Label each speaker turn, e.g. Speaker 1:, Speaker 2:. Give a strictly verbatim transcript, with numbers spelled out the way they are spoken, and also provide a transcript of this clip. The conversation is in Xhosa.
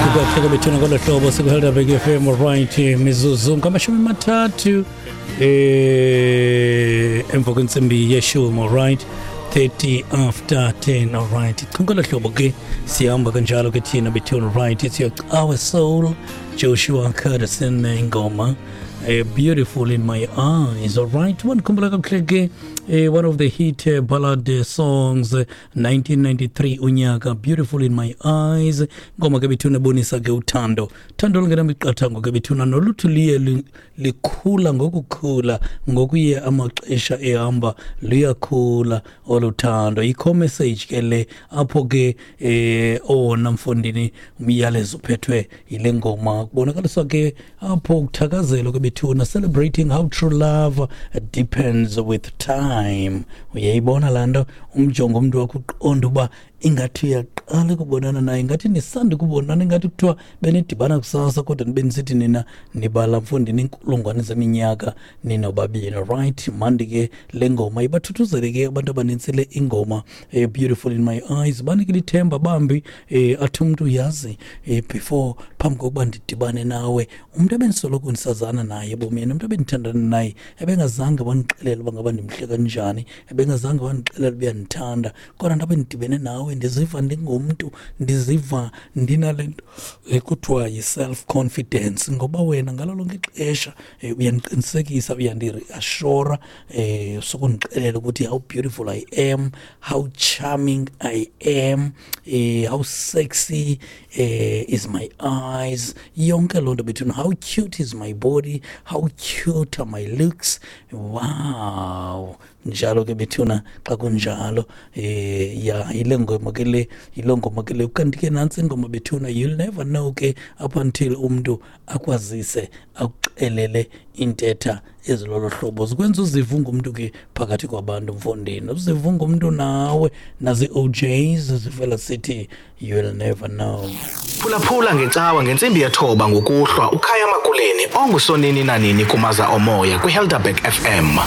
Speaker 1: Kakuhle bethuna ngolo hlobo sikuHelderberg F M, right, mizuzu ngamashumi amathathu eh emva kwentsimbi yeshumi, right, thirty after ten, all right. Ngolo hlobo ke sihamba kanjalo ke thina bethuna, right. It's your Our Soul, Joshua Curtis ingoma Uh, beautiful in my eyes, all right. One khumbula kakuhle ke one of the hit uh, ballad uh, songs uh, nineteen ninety-three unyaka, Beautiful in My Eyes. Ngoma ke bethuna bonisa ke uthando, uthando olungenamiqathango ke bethuna noluthi liye likhula ngokukhula ngokuye amaxesha ehamba liyakhula oluthando. Ikho message ke le apho ke eh owona mfondini umyalezo uphethwe yile ngoma, kubonakaliswa ke apho ukuthakazela ke bethuna, celebrating how true love depends with time. Uyayibona laa nto, umjongo umntu wakho uqonda uba ingathi uyaqala ukubonana naye, ingathi nisanda ukubonana, ingathi kuthiwa benidibana kusasa kodwa nibe nisithi nina nibala mfondini inkulungwane zeminyaka ninobabini, right. Mandi ke le ngoma ibathuthuzele ke abantu abanintsi le ingoma eh, Beautiful in My Eyes, banike lithemba bambi eh, athi umntu uyazi eh, before phambi kokuba ndidibane nawe umntu ebendisoloko ndisazana naye ebomini, umntu ebendithandana naye ebengazange wandixelela uba ngaba ndimhle kanjani, ebengazange wandixelela uba uyandithanda, kodwa ndabe ndidibene nawe ndiziva ndingumntu, ndiziva ndinale nto ekuthiwa yi-self confidence, ngoba wena ngalo lonke ixesha uyandiqinisekisa, uyandireassura, eh sokundixelela ukuthi how beautiful I am, how charming I am, eh how sexy eh, is my eyes, yonke loo nto between how cute is my body, how cute are my looks, wow. Njalo ke bethuna xa kunjalo eh ya ile ngoma ke le, ile ngoma ke le. Kanti ke nantsi ingoma bethuna, you'll never know ke up until umntu akwazise akuxelele intetha ezilolo hlobo, zikwenza uzive ungumntu ke phakathi kwabantu mfondini, uzive ungumntu nawe. Nazi O Js zivela sithi you'll never know.
Speaker 2: Phulaphula ngecawa ngentsimbi yethoba ngokuhlwa uKhaya Makuleni ongusonini nanini kumaza omoya kwiHelderberg F M.